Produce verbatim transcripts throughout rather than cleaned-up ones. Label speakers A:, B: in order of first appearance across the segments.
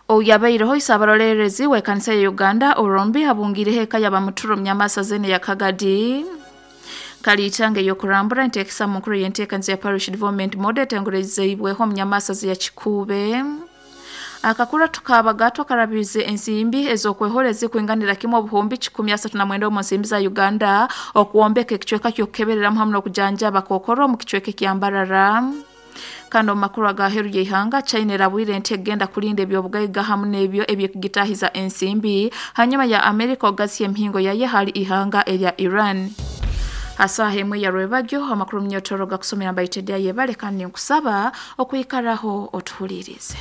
A: Oyabaireho isabarolerezi w'ekanisa ya Uganda orombi habungireho eka y'abamuturo myamasa zene ya Kagadi. Kaliitanga ey'okurambura enteekesa mu nkuru y'enteekaniza ya Parish Development Model etengurezeibweho omunyamasa ya Kikuube. Akakura tukabagatwa karabize ensimbi ez'okwehora ezikuinganira kimwe obuhumbi kikumi asatu na mwenda omu nsimbi za Uganda okuwombeka ekicweka ky'okukebereramu hamwe n'okujanjaba kokoro omu kicweka ekyambarara. Kandi omu makuru agaheru y'eihanga China erabwire nti egenda kulinda eby'obugaiga hamwe n'ebyo eby'okugitahiza ensimbi hanyuma ya Amerika ogasya emihingo yaye hali ihanga erya Iran. Asaha emwe ya rwebagyo amakuru myotoro gakusomera mbaitedya yebale kandi nkusaba okwikaraho otuhulirize.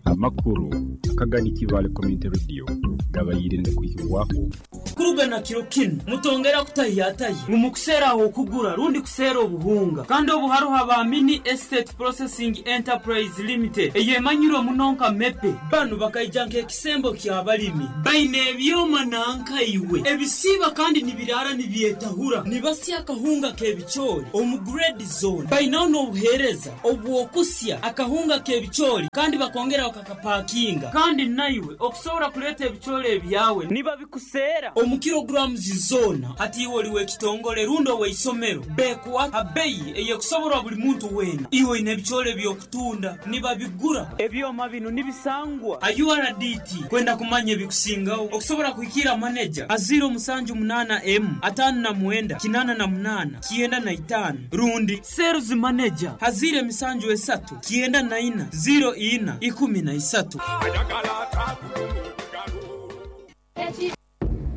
B: Amakuru akagani Kivale Community Radio gabayirinde kuhibwaho
C: Kurugana kiro kinu mutongera kutahiyataye mumukuseera okugura rundi kuseera obuhunga kandi obuharuha ba Mini Estate Processing Enterprise Limited eyemanyirwe muno nka mepe banu bakaija nk'ekisembo ky'abalimi baine ebyoma nankaiwe ebisiiba kandi nibirara nibyetahura nibasya akahunga k'ebicoori omu grade zone bainaho n'obuheereza obw'okusya akahunga k'ebicoori kandi bakongera bakakapakinga kandi naiwe okusobola kuleeta ebicoori ebyawe nibabikuseera omu kilograms zona hati iwe oli w'ekitongole rundi ow'eisomero bekuwa abeyi eyekusoborwa buli muntu weena iwe oine ebicoori eby'okutunda nibabigura ebyoma bino nibisangwa a U R D T kwenda kumanya ebikusingaho okusobola kuhikira maneja aziro musanju munaana emu ataano na mwenda kinaana na munaana kyenda na itaano rundi sales manager hazire emisanju esatu kyenda na ina ziro ina ikumi na isatu.